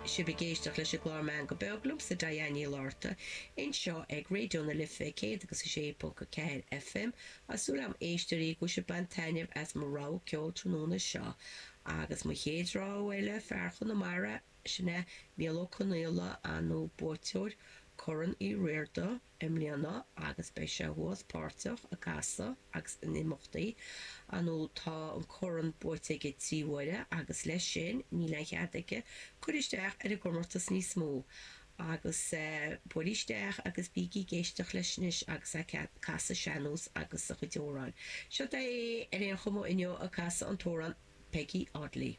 sibh ag éisteacht leis an gclár Meangadh Beag liomsa Diane Ní Fhlatharta anseo ag Raidió na Life 106.4 FM. Tá súil agam éisteoirí go bhfuil sibh ag baint taitneamh as mo rogha ceoil tráthnóna seo. Agus mo chéad rogha eile, fear Chonamara, sin é Mícheál Ó Conaola, ar ndóigh buaiteoir Corn Uí Riada i mbliana agus beidh sé thuas páirteach ag casadh agus in imeachtaí. Ar ndóigh tá an corn buaite aige 3 huaire agus leis sin níl aon chead aige cur isteach ar an gcomórtas níos mó. Agus buail isteach agus bígí ag éisteacht leis anois agus é ag casadh sean-nós agus a chuid amhrán. Seo é ar aon chuma inniu ag casadh an t-amhrán Peggy Oddly.